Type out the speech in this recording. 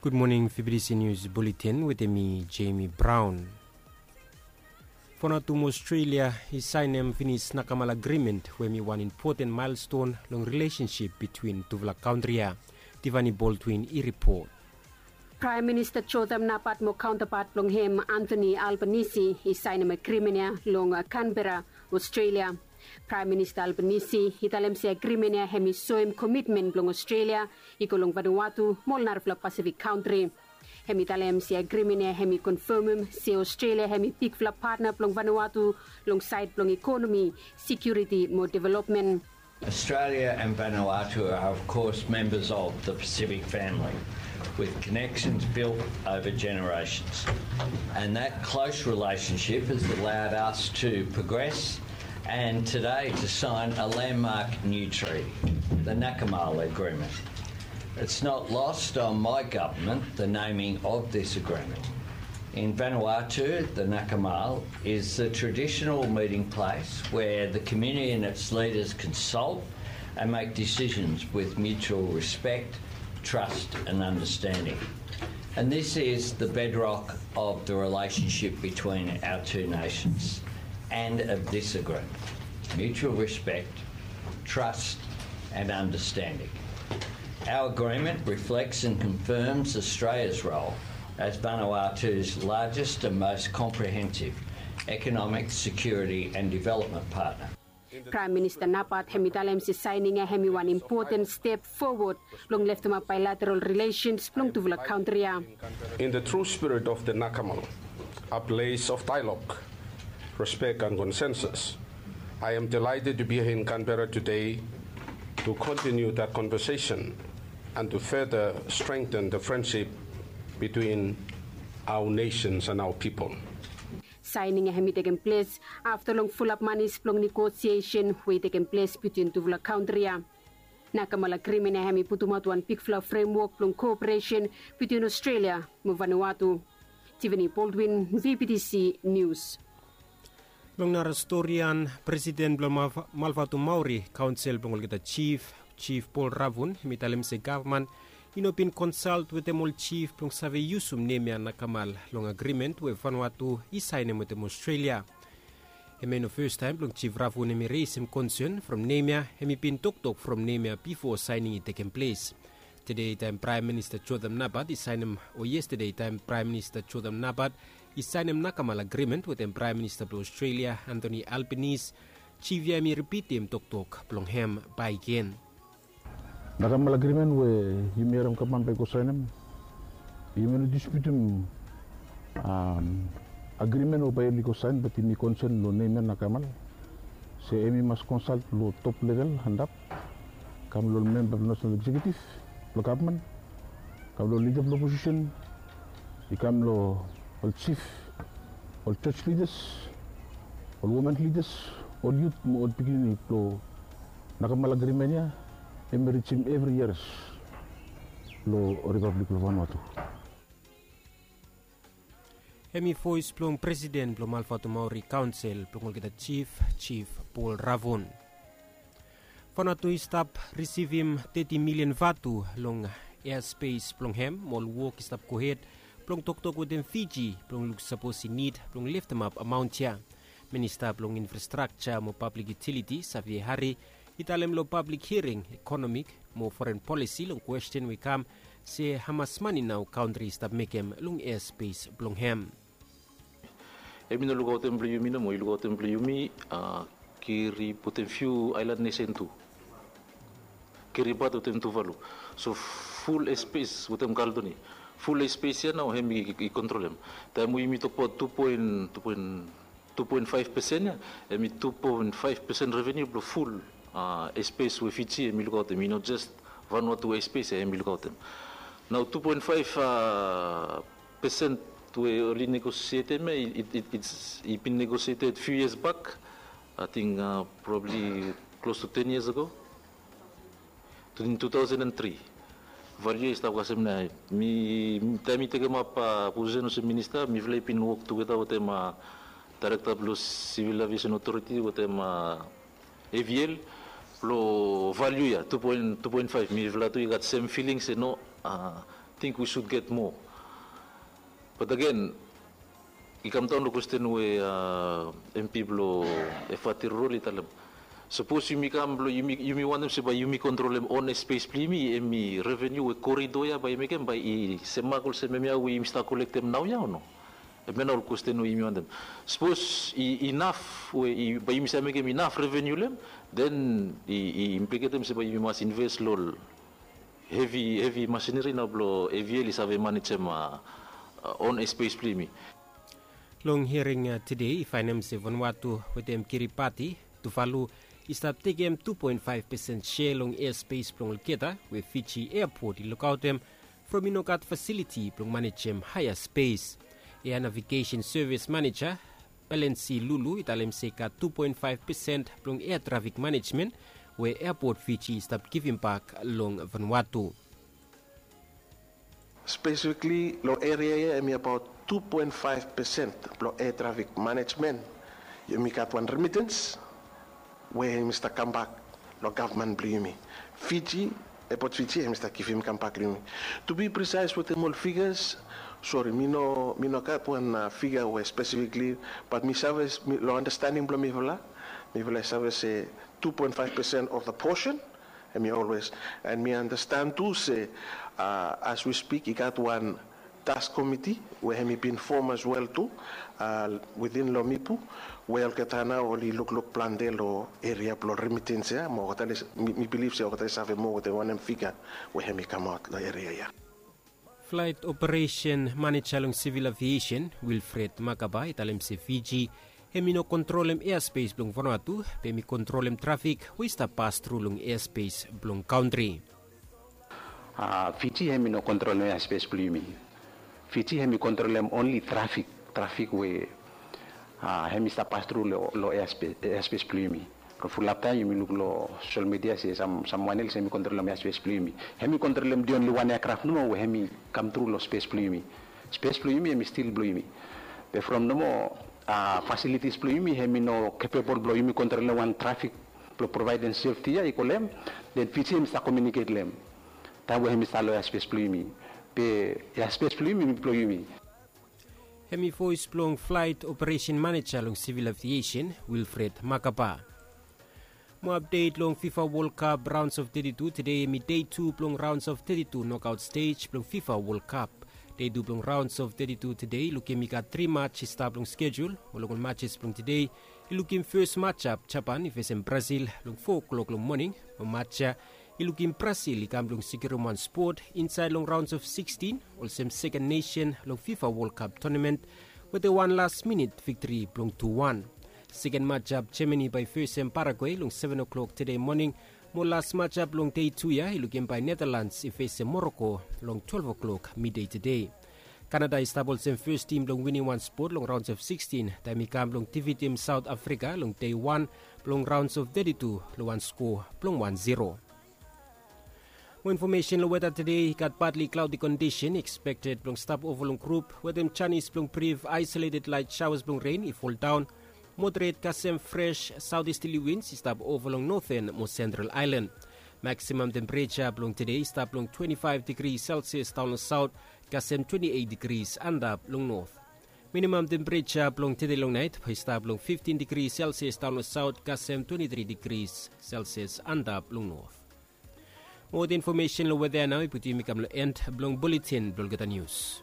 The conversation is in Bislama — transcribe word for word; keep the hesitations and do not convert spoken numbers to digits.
Gud moning, Fibidisi Nius Buletin wetem mi, Jemi Braon. Vanuatu mo Australia i saenem finis Nakamal Agrimen, we hem i wan impoten maelston long rilesensip bitwin tufala kantri ya. Tivani Baldwin i ripot. Praem Minista Jotham Napat mo kaontapat blong hem, Anthony Albanese, i saenem agrimen ya long Canberra, Australia. Praem Minista Albanese i talem se agrimen ya hem i soem komitmen blong Australia i go long Vanuatu mo ol narafala Pasifik kantri. Hem i talem se agrimen ya hem i konfamem se Australia hem i bigfala patna blong Vanuatu long saed blong ekonomi, sekiuriti mo developmen. Australia and Vanuatu are, of course, members of the Pacific family, with connections built over generations. And that close relationship has allowed us to progress and today to sign a landmark new treaty, the Nakamal Agreement. It's not lost on my government the naming of this agreement. In Vanuatu, the Nakamal is the traditional meeting place where the community and its leaders consult and make decisions with mutual respect, trust and understanding. And this is the bedrock of the relationship between our two nations and of this agreement. Mutual respect, trust and understanding. Our agreement reflects and confirms Australia's role as Vanuatu's largest and most comprehensive economic, security and development partner. Praem Minista Napat hem i talem se saening ya hem i wan impoten step fowod long leftemap baelateral rilesens blong tufala kantri ya. In the true spirit of the Nakamal, a place of dialogue, respect and consensus, I am delighted to be here in Canberra today to continue that conversation and to further strengthen the friendship between our nations and our people. Saening ya hem i tekem ples afta long fulap manis blong negosiesen we i tekem ples bitwin tufala kantri ya. Nakamal Agrimen ya hem i putumaot wan bigfala fremwok blong koperesen bitwin Australia mo Vanuatu. Tivani Baldwin, V B T C Nius. Long nara storian, Presiden blong Malvatu Maori Kaonsel blong olgeta Jif, Jif Paul Ravun, hem i talem se gavman i no bin konsalt wetem ol jif blong save yusum nem ya Nakamal long agrimen we Vanuatu i saenem wetem Australia. Hem i no fastaem blong Jif Ravun hem i resem konsen from nem ya, hem i bin toktok from nem ya bifo saening i tekem ples. Tede taem Praem Minista Jotham Napat i saenem, o yestede taem Praem Minista Jotham Napat i saenem Nakamal Agrimen wetem Praem Minista blong Australia, Anthony Albanese, Jif ya hem i ripitim toktok blong hem bakegen. Nakamal Agrimen we yumi harem gavman bae i go saenem, yumi no disputim agrimen we bae oli go saen, bat yumi konsen long nem ya Nakamal, se hem i mas konsalt long top level antap, kam long ol memba blong Nasenal Eksekiutiv blong gavman, kam long lida blong oposisen, i kam long ol jif, ol jos lidas, ol women lidas, ol yut mo ol pikinini blong Nakamal Agrimen ya hem i rijim evri yias long Ripablik blong Vanuatu. Hem i voes blong Presiden blong Malvatu Maori Kaonsel blong olgeta Jif, Jif Paul Ravun. Vanuatu i stap risivim teti milian vatu long easpes blong hem mo ol wok i stap gohed blong toktok wetem Fiji blong luk sapos i nid blong leftemap amaon ya. Minista blong Infrastrakja mo Pablik Yutiliti, Xavier Harry, i talem long pablik hiaring ekonomik mo foren polisi long kwesten we i kam se hamas mane nao kantri i stap mekem long easpes blong hem. Hem i no lukaotem blong yumi nomo, i lukaotem blong yumi, kiri putum fiu aelan nesen tu. Kiri bat wetem Tuvalu. So ful easpes wetem Kaledonia, ful easpes ya nao hem i kontrolem. Taem we yumi tokbaot tu poen, tu poen tu poen faef pesen ya, hem i tu poen faef pesen revenu blong ful easpes we Fiji hem i lukaotem. I no jes Vanuatu easpes ya hem i lukaotem. Nao tu poen faef pesen we oli negosietem ya, i bin negosieted fiu yias bak, ating probabli klos tu ten yias ago. In two thousand and three. Valiu ya i stap kasem nao. Mi, taem mi tekemap posisen olsem minista, mifala i bin wok tugeta wetem daerekta blong Sivil Aviesen Otoriti wetem A V L blong valiu ya tu poen, tu poen faef. Mifala tu i gat sem filing se no, think we should get more. But again, i kam daon long kwesten we MP blong Efate Rurol i talem, sapos yumi kam blong yumi wantem se bae yumi kontrolem on aispes blong yumi, hemi revenu we korido ya bae i mekem bae i semak olsem hemia we yumi stap kolektem naoia o no? Hemia nao ol kwesten we yumi wantem. Sapos i inaf we bae yumi save mekem inaf revenu long hem, den i impliketem se bae yumi mas inves long ol hevi hevi masineri nao blong AVL i save manejem on aispes blong yumi. Long hiaring tede i faenem se Vanuatu wetem Kiribati, Tuvalu, i stap tekem tu poen faef pesen sea long ea spes blong olgeta we Fiji eapot i lukaotem from i no gat fasiliti blong manejem haea spes. Ea navigesen sevis maneja Belensi Lulu i talem se i gat tu poen faef pesen blong ea trafik manejmen we eapot Fiji i stap givimbak long Vanuatu. Spesifikli long eria ya hemi abaot tu poen faef pesen blong ea trafik manejmen. Yumi gat wan remitens we hemi stap kambak long gavman blong yumi. Fiji, eapot Fiji hemi stap givim kambak long yumi. To be precise wetem ol figas, sori, mi no mi no gat wan figa we spesifikli, bat mi save long andastaning blong mifala, mifala i save se tu poen faef pesen of the portion. Hemi olwes, and mi andastan tu se as we spik i gat wan task komiti we hemi bin fom as wel tu witin long mipu, we olgeta nao oli lukluk plante long eria blong remitens ya mo olgeta mi bilif se olgeta i save moa wetem wanem figa we hemi kamaot long eria ya. Flaet operesen maneja long sivil aviesen Wilfred Makaba i talem se Fiji hemi no kontrolem easpes blong Vanuatu, be hemi kontrolem trafik we i stap pastru long easpes blong kantri. Fiji hemi no kontrolem easpes blong yumi. Fiji hemi kontrolem onli trafik, trafik we hemi stap pastru long easpes blong yumi. Long fulap taem yumi luk long sosel midia se samwan els hemi kontrolem easpes blong yumi. Hemi kontrolem di onli wan eakraf nomo we hemi kamtru long spes blong yumi. Spes blong yumi hemi stil blong yumi. Be from nomo fasilitis blong yumi hemi no kepebol blong yumi kontrolem wan trafik blong provaedem sefti ya i go long hem, den Fiji hemi stap komiuniket long hem taem we hemi stap long easpes blong yumi. Be easpes blong yumi hemi blong yumi. Hemi voes blong flaet operesen maneja long sivil aviesen Wilfred Makaba. Mo apdet long Fifa Wol Kap raons of teti tu. Tede hemi dei tu blong raons of teti tu nokaot stej blong Fifa Wol Kap. Dei tu blong raons of teti tu tede i lukim i gat tri maj i stap long skejul. Mo long ol majes blong tede i lukim fes majap Japan i fesem Brasil long fo klok long moning. Mo maj ya i lukim Brasil i kam blong sekiurim wan spot insaed long raons of sikstin olsem seken nesen long Fifa Wol Kap tonamen wetem wan las minit viktri blong tu wan. Seken majap Jemani bae i fesem Paragwe long seven o'clock tede moning. Mo las majap long dei tu ya i lukim bae Netalans i fesem Moroko long twelve o'clock midei tede. Kanada i stap olsem fes tim blong winim wan spot long raons of sikstin taem i kam blong difitim Saot Afrika long dei wan blong raons of teti tu long wan skoa blong wan zero. Mo infomesen long weta tede, i gat patli klaodi kondisen ekspekted blong stap ova long grup wetem janis blong brif aisoleted laet saoas blong ren i foldaon. Moderet kasem fres saotesterli wins i stap ova long noten mo sentral aelan. Maksimam tempereja blong tede i stap long twenti faef digri selsias daon long saot kasem twenti eit digris antap long not. Minimam tempereja blong tede long naet bae i stap long fiftin digri selsias daon long saot kasem twenti tri digris selsias antap long not. Mo ol infomesen long weta ya nao i putum yumi kam long en blong buletin blong olgeta nius.